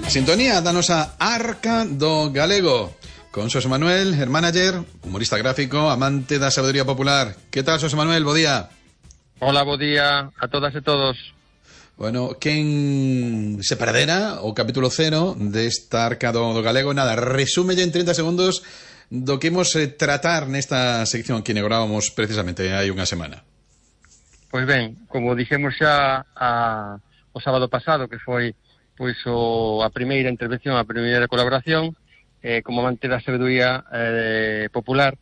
Sintonía danos a Arca do Galego con Xosé Manuel, el manager, humorista gráfico, amante da sabedoría popular. Que tal, Xosé Manuel? Bo día. Hola, bo día a todas e todos. Bueno, quen se perdera o capítulo 0 desta Arca do Galego, nada, resúmelle en 30 segundos do que imos tratar nesta sección que inaugurábamos precisamente hai unha semana. Pois ben, como dixemos xa o sábado pasado, que foi pois a primeira intervención, a primeira colaboración, como amante da sabedoría popular,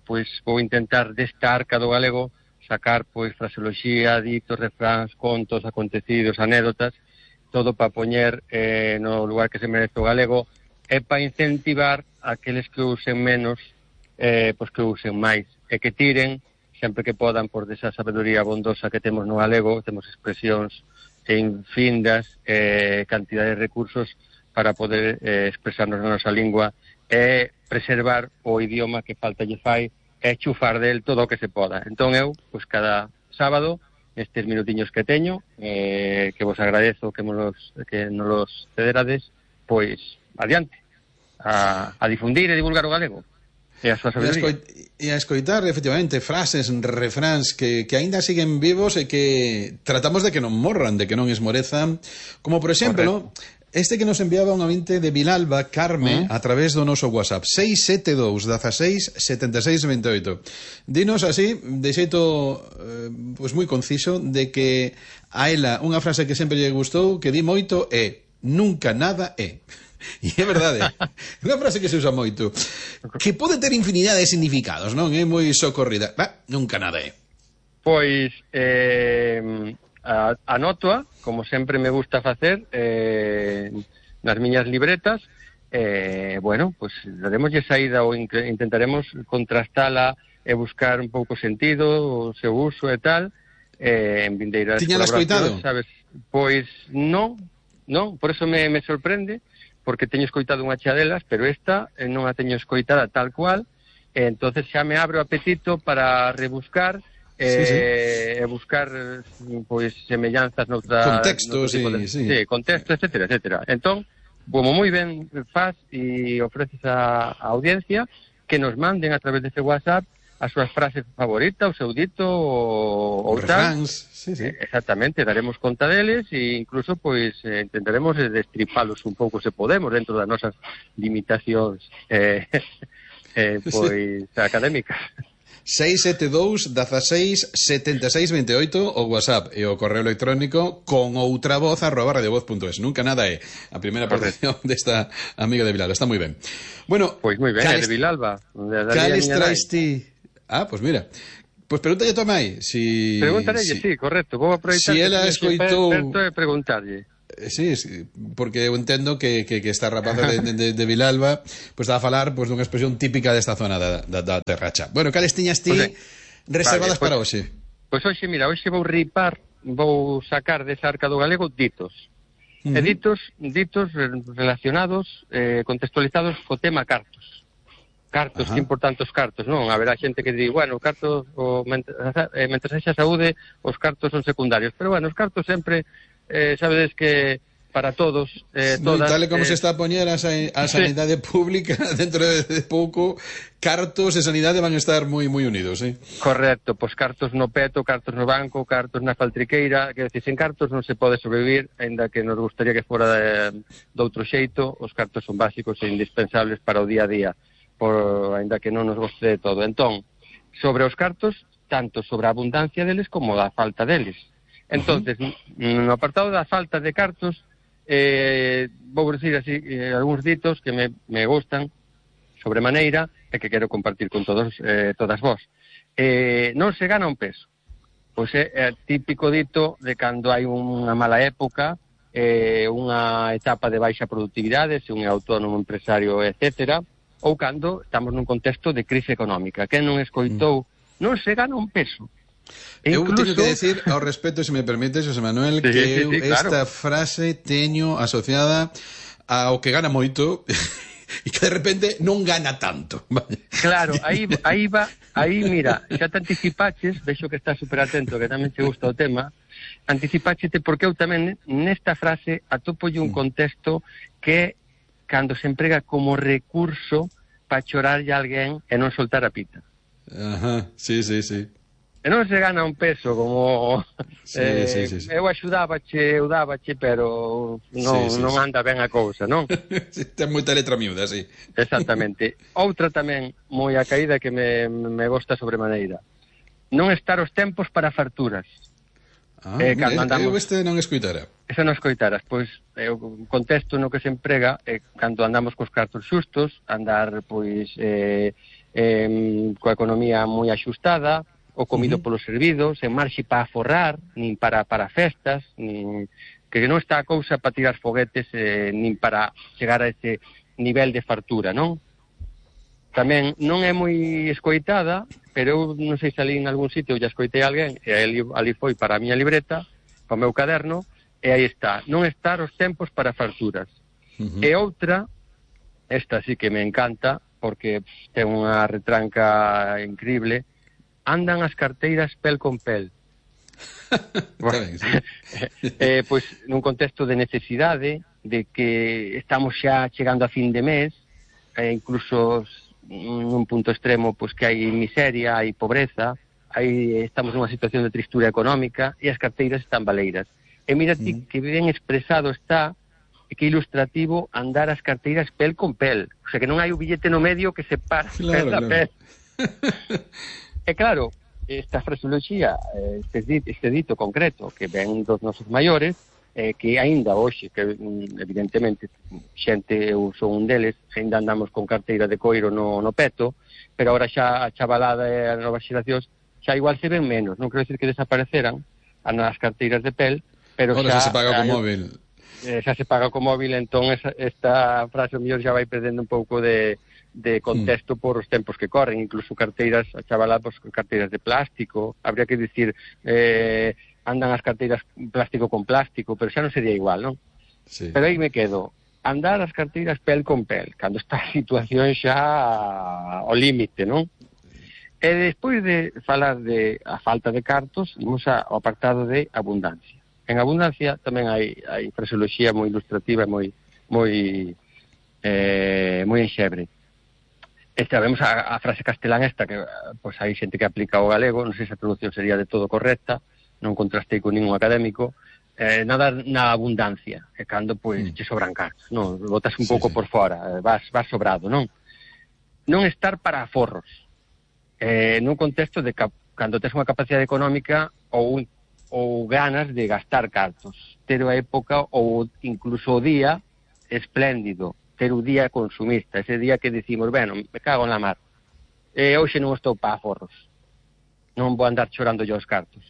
pois vou intentar desta Arca do Galego sacar pois fraseoloxía, ditos, refráns, contos, acontecidos, anécdotas, todo para poñer no lugar que se merece o galego e para incentivar aqueles que usen menos, pois que usen máis e que tiren sempre que podan por desa sabedoría bondosa que temos no galego. Temos expresións infindas, cantidade de recursos para poder expresarnos na nosa lingua e preservar o idioma que falta lle fai e chufar del todo o que se poda. Entón eu, pois cada sábado, nestes minutiños que teño, que vos agradezo que nos los cederades, pois adiante, a difundir e divulgar o galego e a súa sabedoría. E a escoitar, efectivamente, frases, refráns que aínda siguen vivos e que tratamos de que non morran, de que non esmorezan, como por exemplo este que nos enviaba un ouvinte de Vilalba, Carme, a través do noso WhatsApp 672 16 76 28. Dinos así, de xeito pois moi conciso, de que a ela unha frase que sempre lle gustou, que di moito, é nunca nada é. E é verdade, é unha frase que se usa moito, que pode ter infinidade de significados, non? É moi socorrida. Nunca nada é. Pois anótoa, como sempre me gusta facer, nas miñas libretas. Bueno, pois daremoslle saída ou intentaremos contrastala e buscar un pouco sentido, o seu uso e tal, en vindeiras colaboracións, sabes? Pois non, por eso me sorprende, porque teño escoitado unha chea delas, pero esta non a teño escoitada tal cual, entonces xa me abre o apetito para rebuscar e buscar pois semellanzas noutra contextos, contexto, etcétera. Entón, como moi ben faz e ofreces a audiencia que nos manden a través dese WhatsApp as súas frases favoritas, o seu dito ou tal. Exactamente, daremos conta deles e incluso pois intentaremos destripalos un pouco se podemos dentro das nosas limitacións pois académicas. 672 16 76 28 o WhatsApp e o correo electrónico con outra voz @radiovoz.es. Nunca nada é a primeira aportación desta amiga de Vilalba. Está moi ben. Bueno, pois moi ben, de Vilalba. Cales traes ti? Pois mira, pois pregúntalle a tua mai Pregúntarelle, sí, correcto. Vou aproveitar si ela escoitou e preguntarlle. Sí, porque eu entendo que esta rapaza de Vilalba pois está a falar pois dunha expresión típica desta zona da Terracha. Bueno, cales tiñas ti reservadas para hoxe? Pois hoxe, mira, hoxe vou sacar desa Arca do Galego ditos. E ditos relacionados, contextualizados co tema cartos. Cartos, que importantes os cartos, non? Haberá xente que di, bueno, cartos, mentre sexa saúde, os cartos son secundarios. Pero, bueno, os cartos sempre, sabedes que para todos, todas... Tal como se está a poñer a sanidade pública, dentro de pouco, cartos e sanidade van a estar moi unidos, Correcto, pois cartos no peto, cartos no banco, cartos na faltriqueira, que decir, sen cartos non se pode sobrevivir, aínda que nos gustaría que fora de outro xeito. Os cartos son básicos e indispensables para o día a día, aínda que non nos goste de todo. Entón, sobre os cartos, tanto sobre a abundancia deles como a falta deles. Entonces, no apartado da falta de cartos, vou decir así algúns ditos que me gustan sobremaneira e que quero compartir con todas vos. Non se gana un peso. Pois é típico dito de cando hai unha mala época, unha etapa de baixa productividade, se un é autónomo, empresario, etcétera, ou cando estamos nun contexto de crise económica. Quen non escoitou, non se gana un peso. Eu teño que decir ao respecto, se me permites, José Manuel, que eu esta frase teño asociada ao que gana moito e que de repente non gana tanto. Claro, aí mira, xa te anticipaches, vexo que estás super atento, que tamén te gusta o tema, Anticipáchete porque eu tamén nesta frase atopolle un contexto que cando se emprega como recurso para chorarlle a alguén e non soltar a pita. Ajá, sí. E non se gana un peso como Sí. eu axudábache, pero non anda ben a cousa, non? Ten moita letra miúda, sí. Exactamente. Outra tamén moi a caída que me gosta sobremaneira. Non estar os tempos para farturas. Mira, eu este non escoitara. Esa non escoitaras, pois o contexto no que se emprega é cando andamos cos cartos xustos, andar pois coa economía moi axustada, o comido polo servido, sen marxe para aforrar, nin para festas, nin que non está a cousa para tirar foguetes, nin para chegar a ese nivel de fartura, non? Tamén non é moi escoitada, pero eu non sei se ali en algún sitio ya escoitei a alguén, e ali foi para a miña libreta, para o meu caderno, e aí está, non estar os tempos para farturas. E outra, esta sí que me encanta, porque ten unha retranca increíble, andan as carteiras pel con pel. Bueno, sí. Pois nun contexto de necesidade, de que estamos xa chegando a fin de mes, incluso nun punto extremo pois que hai miseria, hai pobreza, estamos nunha situación de tristura económica e as carteiras están baleiras. E mira ti que ben expresado está, e que ilustrativo andar as carteiras pel con pel. O sea, que non hai o billete no medio que se para pel a pel. E claro, esta fraseoloxía, este dito concreto que ven dos nosos maiores, que aínda hoxe, que evidentemente xente, eu son un deles, aínda andamos con carteira de coiro no peto, pero agora xa a chavalada e as novas xeracións xa igual se ven menos, non quero decir que desapareceran as carteiras de pel, pero ahora xa se paga co móvil. Xa se paga co móvil, entón esta frase o mellor xa vai perdendo un pouco de contexto por os tempos que corren, incluso carteiras, a chavala, pues, carteiras de plástico, habría que dicir, andan as carteiras plástico con plástico, pero xa non sería igual, non? Sí. Pero aí me quedo, andar as carteiras pel con pel, cando está a situación xa ao límite, non? E despois de falar de a falta de cartos, imos ao apartado de abundancia. En abundancia tamén hai fraseoloxía moi ilustrativa, moi enxebre. Vemos a frase castelán esta, que pois hai xente que aplica ao galego, non sei se a traducción sería de todo correcta, non contrastei con ningún académico, nada na abundancia, e cando pois che sobran cartos, non, botas un pouco por fora, vas sobrado, non? Non estar para aforros, nun contexto de cando tes unha capacidade económica ou ganas de gastar cartos, ter a época ou incluso o día espléndido, ter o día consumista, ese día que decimos, bueno, me cago na mar, hoxe non estou para aforros, non vou andar chorando yo os cartos.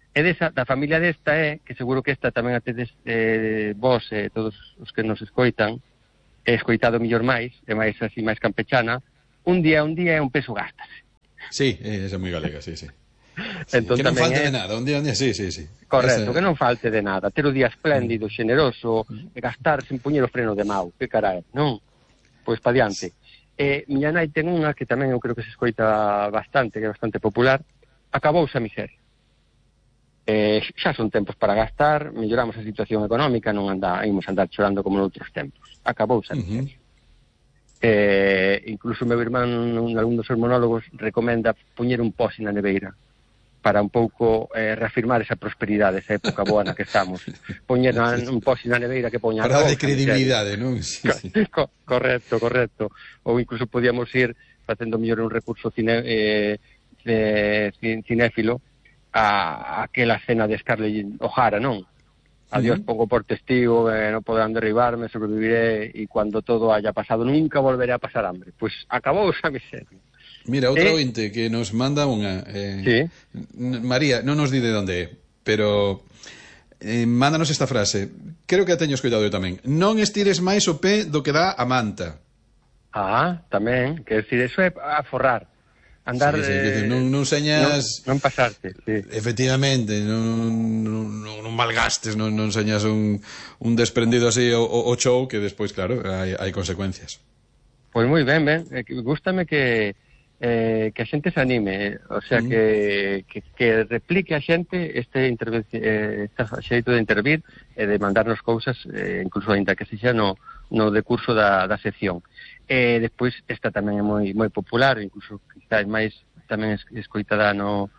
E da familia desta que seguro que esta tamén a tedes vos e todos os que nos escoitan, escoitado mellor máis, e máis así máis campechana, un día é un peso gastase. Sí, esa é moi galega, sí. Entón, que non falte de nada, un día, sí. Correcto, que non falte de nada, ter o día espléndido, xeneroso, e gastar sen puñer o freno de mau, que carai, non? Pois pa diante. Miña nai ten unha que tamén eu creo que se escoita bastante, que é bastante popular, acabouse a miseria. Xa son tempos para gastar, melloramos a situación económica, non imos andar chorando como noutros tempos. Acabouse a miseria. Incluso o meu irmán, algún dos seus monólogos, recomenda poñer un posi na neveira para un pouco reafirmar esa prosperidade, esa época boa na que estamos. Poñer un posi na neveira que poña... Para de credibilidade, non? Correcto. Ou incluso podíamos ir facendo mellor un recurso cinéfilo a aquela cena de Scarlett O'Hara, non? Adiós, pongo por testigo, non poderán derribarme, sobreviviré, e cuando todo haya pasado nunca volveré a pasar hambre. Pois acabou esa miseria. Mira, outra ointe que nos manda unha... Sí. María, non nos di de onde é, pero mándanos esta frase. Creo que a teño escoitado eu tamén. Non estires máis o pé do que dá a manta. Tamén. Quer decir, eso é aforrar. Andar... Sí, non señas... Non pasarte, sí. Efectivamente, non malgastes, non señas un desprendido así o show, que despois, claro, hai consecuencias. Pois moi ben. Gústame que que a xente se anime, o sea, que replique a xente este xeito de intervir e de mandarnos cousas, incluso ainda que sexa no decurso da sección. Despois esta tamén é moi popular, incluso quizás máis tamén escoitada no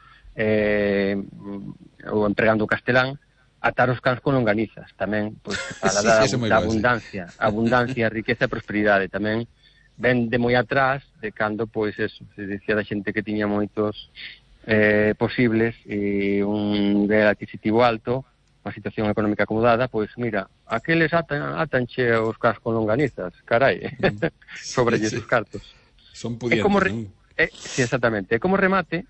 ou empregando o castelán, atar os cans con longanizas, tamén pois para dar abundancia, riqueza e prosperidade, tamén ven de moi atrás de cando, pois, eso, se dicía da xente que tiña moitos posibles e un nivel adquisitivo alto, unha situación económica acomodada, pois, mira, aqueles atanche os cas con longanizas, carai, sobrelles os cartos. Son pudientes, sí, exactamente. E como remate,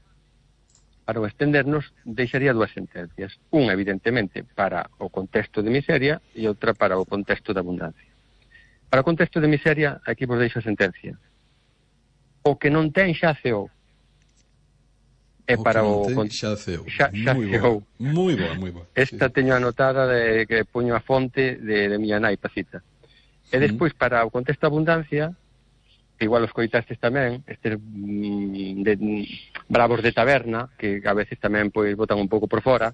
para o extendernos, deixaría dúas sentencias. Unha, evidentemente, para o contexto de miseria e outra para o contexto de abundancia. Para o contexto de miseria, aquí vos deixo a sentencia. O que non ten xa ceou. E para o xa ceou. Moi boa. Esta teño anotada de que poño a fonte de miña nai Pacita. E despois, para o contexto de abundancia, que igual os coitastes tamén, estes bravos de taberna, que a veces tamén pois botan un pouco por fora,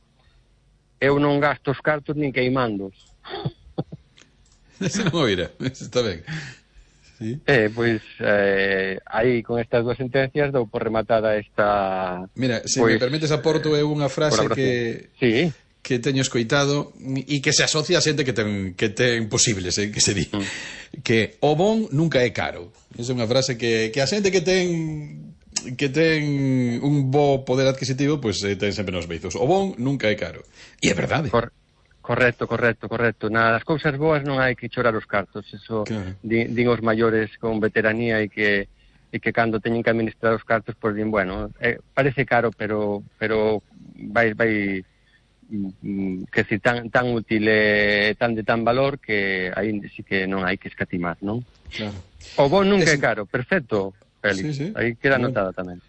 eu non gasto os cartos nin queimandos. Ese non oira, está ben. Sí. Pois aí con estas dúas sentencias dou por rematada esta... Mira, se me permites aporto eu unha frase que teño escoitado e que se asocia a xente que ten posibles, que se di. Que o bon nunca é caro. Esa é unha frase que a xente que ten un bo poder adquisitivo, pois ten sempre nos beizos. O bon nunca é caro. E é verdade. Correcto. Nas cousas boas non hai que chorar os cartos. Eso claro. Din os maiores con veteranía e que cando teñen que administrar os cartos, pois din, bueno, parece caro, pero vai que si tan útil e tan de tan valor que aí sí que non hai que escatimar, non? Claro. O bon nunca é caro, perfecto, Félix. Sí. Aí queda anotada tamén.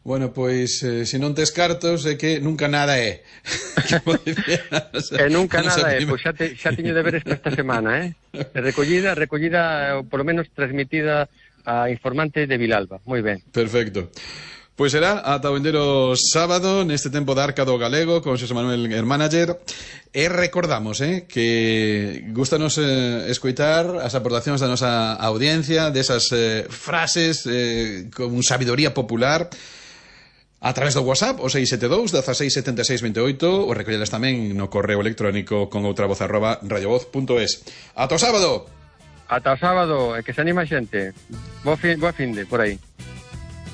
Bueno, pois, se non tes cartos, é que nunca nada é. Nunca nada é. Pois xa teño deberes para esta semana, Recollida, por lo menos transmitida a informante de Vilalba. Moi ben. Perfecto. Pois será ata o endeiro sábado, neste tempo de Arca do Galego, con Xosé Manuel Hermánager. E recordamos, que gustanos escoitar as aportacións da nosa audiencia, desas frases con sabidoría popular, a través do WhatsApp, o 672 16 76 28, ou recollelas tamén no correo electrónico con outra voz @radiovoz.es. Ata o sábado! Ata o sábado, que se anima a xente. Boa finde, por aí.